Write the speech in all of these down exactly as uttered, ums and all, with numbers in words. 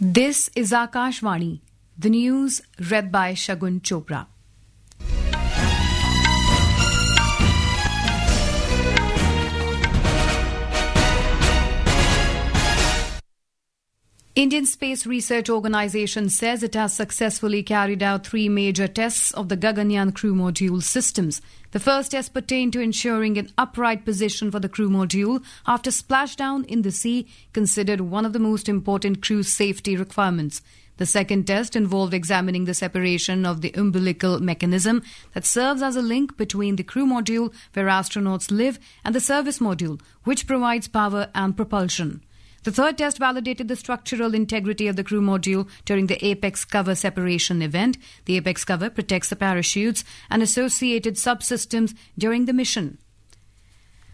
This is Akashvani. The news read by Shagun Chopra. Indian Space Research Organisation says it has successfully carried out three major tests of the Gaganyaan crew module systems. The first test pertained to ensuring an upright position for the crew module after splashdown in the sea, considered one of the most important crew safety requirements. The second test involved examining the separation of the umbilical mechanism that serves as a link between the crew module where astronauts live and the service module, which provides power and propulsion. The third test validated the structural integrity of the crew module during the apex cover separation event. The apex cover protects the parachutes and associated subsystems during the mission.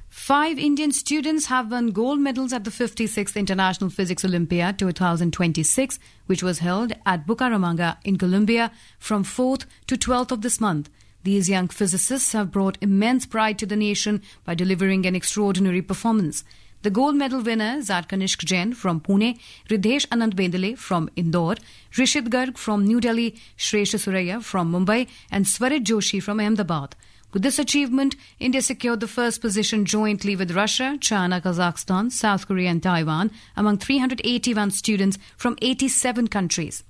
Five Indian students have won gold medals at the fifty-sixth International Physics Olympiad two thousand twenty-six, which was held at Bucaramanga in Colombia from fourth to twelfth of this month. These young physicists have brought immense pride to the nation by delivering an extraordinary performance. The gold medal winners are Kanishk Jain from Pune, Riddhesh Anand Bendale from Indore, Rishit Garg from New Delhi, Shresh Suraiya from Mumbai, and Swarit Joshi from Ahmedabad. With this achievement, India secured the first position jointly with Russia, China, Kazakhstan, South Korea, and Taiwan among three hundred eighty-one students from eighty-seven countries.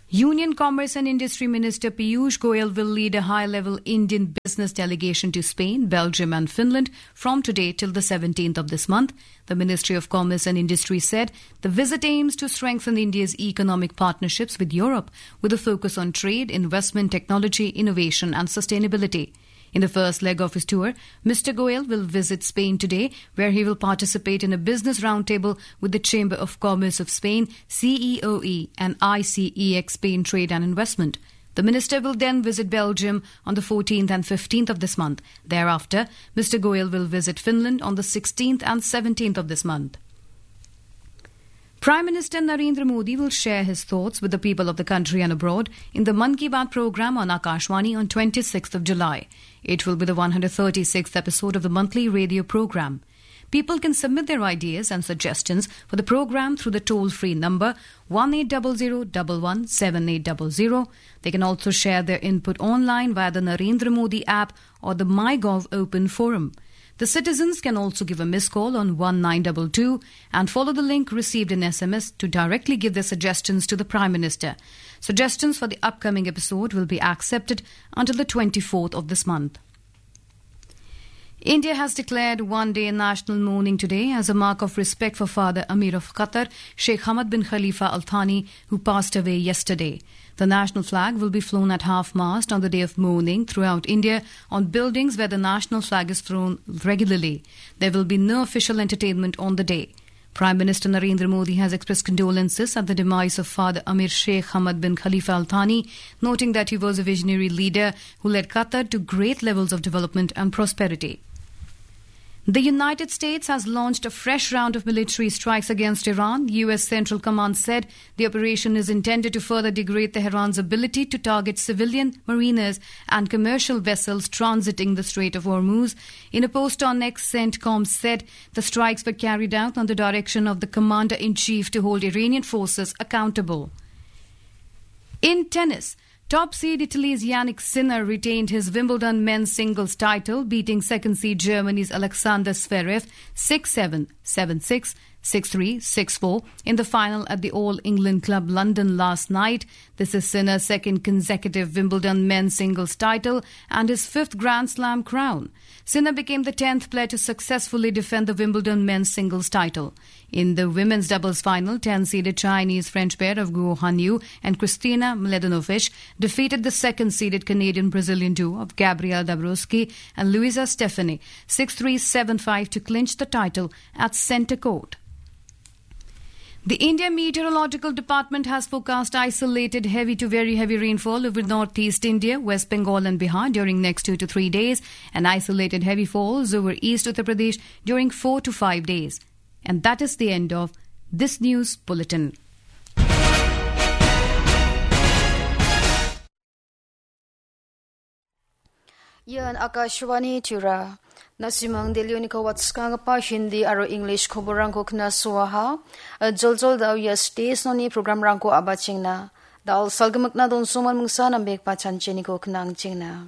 Union Commerce and Industry Minister Piyush Goyal will lead a high-level Indian business delegation to Spain, Belgium and Finland from today till the seventeenth of this month. The Ministry of Commerce and Industry said the visit aims to strengthen India's economic partnerships with Europe, with a focus on trade, investment, technology, innovation and sustainability. In the first leg of his tour, Mister Goyal will visit Spain today, where he will participate in a business roundtable with the Chamber of Commerce of Spain, C E O E, and I C E X Spain Trade and Investment. The minister will then visit Belgium on the fourteenth and fifteenth of this month. Thereafter, Mister Goyal will visit Finland on the sixteenth and seventeenth of this month. Prime Minister Narendra Modi will share his thoughts with the people of the country and abroad in the Mann Ki Baat program on Akashvani on twenty-sixth of July. It will be the one hundred thirty-sixth episode of the monthly radio program. People can submit their ideas and suggestions for the program through the toll-free number one eight double zero double one seven eight double zero. They can also share their input online via the Narendra Modi app or the MyGov open forum. The citizens can also give a missed call on one nine double two and follow the link received in S M S to directly give their suggestions to the Prime Minister. Suggestions for the upcoming episode will be accepted until the twenty-fourth of this month. India has declared one-day national mourning today as a mark of respect for Father Amir of Qatar, Sheikh Hamad bin Khalifa Al Thani, who passed away yesterday. The national flag will be flown at half-mast on the day of mourning throughout India on buildings where the national flag is flown regularly. There will be no official entertainment on the day. Prime Minister Narendra Modi has expressed condolences at the demise of Father Amir Sheikh Hamad bin Khalifa Al Thani, noting that he was a visionary leader who led Qatar to great levels of development and prosperity. The United States has launched a fresh round of military strikes against Iran. U S Central Command said the operation is intended to further degrade Tehran's ability to target civilian mariners and commercial vessels transiting the Strait of Hormuz. In a post on X, CENTCOM said the strikes were carried out on the direction of the commander-in-chief to hold Iranian forces accountable. In tennis, top seed Italy's Jannik Sinner retained his Wimbledon men's singles title, beating second seed Germany's Alexander Zverev six seven, seven six, six three, six four in the final at the All England Club London last night. This is Sinner's second consecutive Wimbledon men's singles title and his fifth Grand Slam crown. Sinner became the tenth player to successfully defend the Wimbledon men's singles title. In the women's doubles final, ten-seeded Chinese-French pair of Guo Hanyu and Kristina Mladenovic defeated the second-seeded Canadian-Brazilian duo of Gabriela Dabrowski and Luisa Stefani six three, seven five to clinch the title at centre court. The India Meteorological Department has forecast isolated heavy to very heavy rainfall over northeast India, West Bengal and Bihar during next two to three days, and isolated heavy falls over East Uttar Pradesh during four to five days. And that is the end of this news bulletin. Ian Akashvani Tura. Na·simang Delhioniko watskagipa Hindi aro English koborrangko knasoaha. Joljol da·o ia stage-oni programrangko a·bachengna. Da·al salgimikna donsoman mingsa nambegipa chanchianiko knangchengna.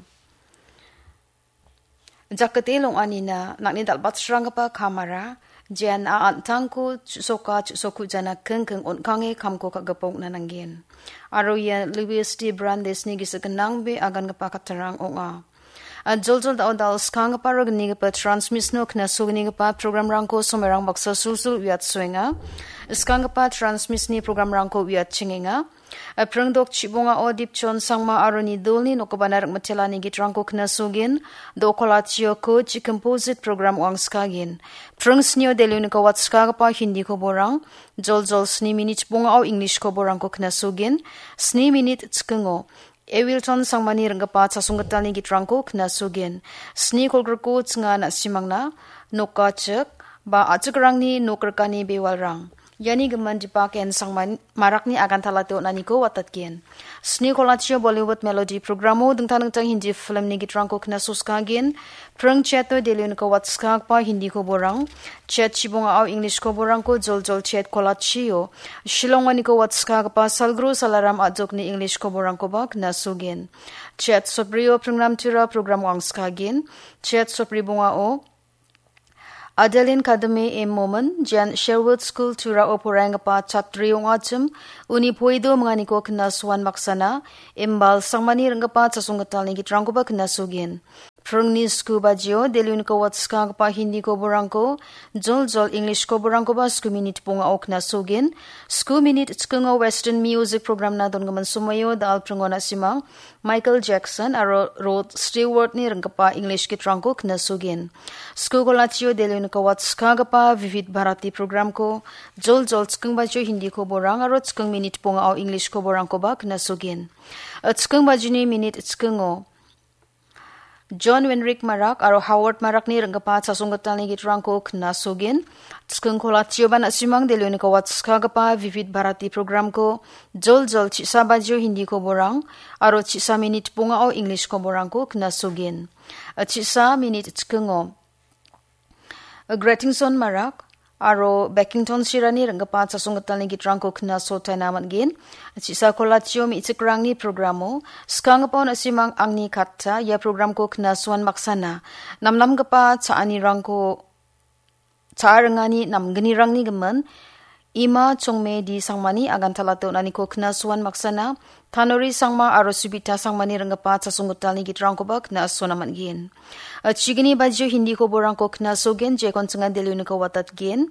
Jakate long·anina nang·ni dal·batsranggipa kamara, jean a an·tangko chu·soka chu·sokujana kingking on·kange kamko ka·gipa ong·na nanggen. Aro ia Louis de Brandesni gisik gnangbe agangipa kattarang ong·a. A joljol da·o dal skanggipa aro gnigipa transmisno knasognigipa programrangko somerang baksa sulsul uiatsoenga. Skanggipa transmisni programrangko uiatchengenga. A pringdok chibongao Dipchon Sangma aro nidolni nokobana ring·mitelani gitrangko knasogin, dokolatio ko chi composite program wangskagin. Pring snio Delhioniko watskagipa Hindi koborang, joljol sni minit bongao English koborangko knasogin, sni minit chikingo Ewilton Sangmani ring·gipa chasonggitalni gitrangko knasogin. Sni kolgriko chinga na·simangna nokachik ba a·chikrangni nok rikani bewalrang. Iani gimin Dipak en Sangman marakni agantalate on·aniko watatgen. Sni kolatio Bollywood melody programo dingtang dingtang Hindi filmni gitrangko knasoskagin. Pring cheto Delhioniko watskagpa Hindi koborang. Chet chibongao English koborangko joljol chet kolatio. Shillonganiko watskagpa Salgro Salaram a·jokni English koborangkoba knasogen. Chet soprio pringnamtira program wangskagin. Chet sopri bongao Adeline Kadame M Momin, Jan Sherwood School Turao poraienggipa chatri ong·achim, uni poido minganiko knasoan maksana, imbal Sangmani ring·gipa chasonggitalni gitrangkoba knasogen. Pringni sku bajio, Delhioniko watskagipa Hindi koborangko, joljol English koborangkoba sku minit bongao knasogen. Sku minit chikingo Western Music Programna dongimin somoio da·al pringo na·simang, Michael Jackson aro Rod Stewart-ni ring·gipa English gitrangko knasogen. Sku kolatio Delhioniko watskagipa Vivid Bharati programko joljol chiking bajio Hindi koborang aro chiking minit bongao English koborangkoba knasogen. Chiking bajini minit chikingo John Wenrik Marak aro Howard Marakni ring·gipa chasonggitalni gitrangko knasogen. Chiking kolatioba na·simang Delhioniko watskagipa Vivid Bharati programko joljol chisa bajio Hindi koborang aro chisa minit bongao English koborangko knasogen. Chisa minit chikingo Gretingson Marak aro Beckington Sirani ring·gipa chasonggitalni gitrangko knasotaina man·gen. Chisa kolatio me·chikrangni programo, skanggipa na·simang angni katta ia programko knasoan maksana. Namnamgipa cha·anirangko, cha·a ringani namgnirangni gimin, Ima Chongme D Sangmani agantalate on·aniko knasoan maksana, Tanori Sangma aro Subita Sangmani ring·gipa chasonggitalni gitrangkoba knasona man·gen. Chigni bajio Hindi koborangko knasogen, jekon chingan Delhioniko watatgen.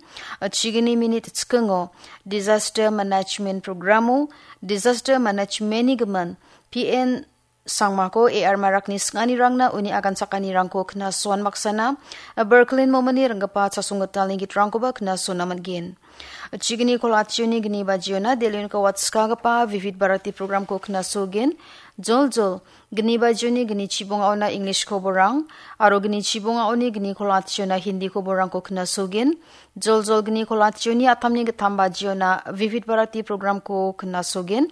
Chigni minit chikingo Disaster Management programo, Disaster Managementni gimin P N Sangmako A R Marakni singanirangna uni aganchakanirangko knasoan maksana, Berkelin Momini ring·gipa chasonggitalni gitrangkoba knasona man·gen. Chigni kolationi gni bajiona Delhioniko watskagipa Vivid Bharati programko knasogen. Joljol, gni bajioni gni chibongaona English koborang, aro gni chibongaoni gni kolationa Hindi koborangko knasogen. Joljol gni kolationi atamni gittam bajiona Vivid Bharati programko knasogen.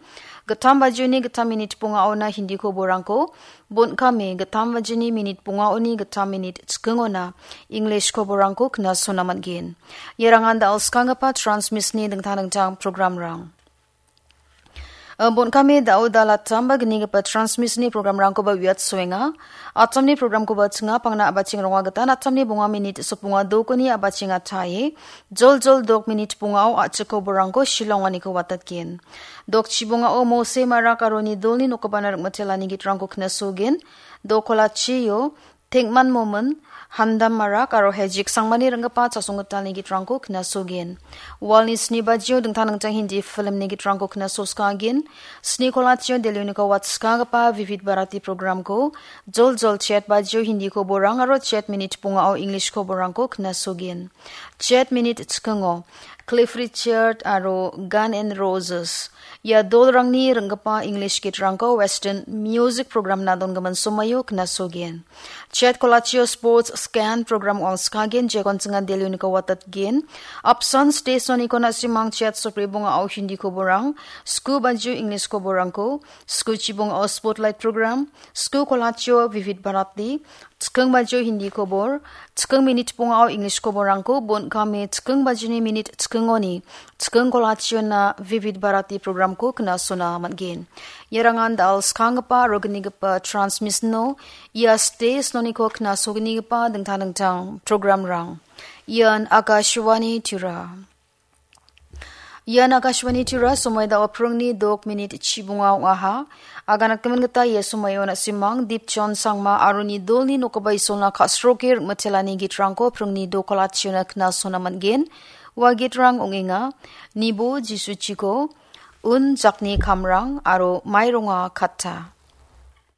Gittam bajioni gittam minit bongaona Hindi koborangko, bon·kame gittam bajini minit bongaoni gittam minit chikingona English koborangko knasona man·gen. Ierangan da·al skanggipa Transmisni dingtang dingtang programrang. Bon·kame da·o dal attam ba gnigipa Transmisni programrangkoba uiatsoenga. Attamni programkoba chinga pangna a·bacheng ronga gitan attamni bonga minit sotbonga dokoni a·bacheng atae, joljol dok minit bongao a·chik koborangko Shillonganiko watatgen. Dok chibongao Mose Marak aro nidolni nokobana ring·mitelani gitrangko knasogen. Dok kolachio Tengman Momin, Handam Marak aro Hejik Sangmani ring·gipa chasonggitalni gitrangko knasogen. Walni sni bajio dingtang dingtang Hindi filmni gitrangko knasoskagen. Sni kolachio Delhioniko watskagipa Vivid Bharati programko joljol chet bajio Hindi koborang aro chet minit bongao English koborangko knasogen. Chet minit chikingo Cliff Richard aro Gun and Roses. Ia dolrangni ring·gipa English gitrangko Western Music Programna dongimin somoio knasogen. Chet kolachio Sports Scan program wangskagen jekon chingan Delhioniko watatgen. Apsan stage-oniko na·simang chet sopri bongao Hindi koborang, sku bajio English koborangko, sku chibongao Spotlight program, sku kolachio Vivid Bharati, Chiking bajio Hindi kobor, chiking minit bongao English koborrangko bon kame chiking bajini minit chikingoni, chiking kolationa Vivid Bharati programko knasona man·gen. Iarangan dal skanggipa aro gnigipa transmissiono, ia stage noniko knasognigipa dingtang dingtang programrang. Ian Akashvani Tirupur. Ian Akashvani Tirupur, somoi dao pringni dok minit chibonga ong·aha. Aganatgimin gita ia somoio na·simang Dipchon Sangma aro nidolni nokgipa Isolna ka·sroke rim·itelani gitrangko pringni dokalationa knasona man·gen. Ua gitrang ong·enga, Nibo Jisuchiko, Un Jakni Kamrang aro Maironga Katta.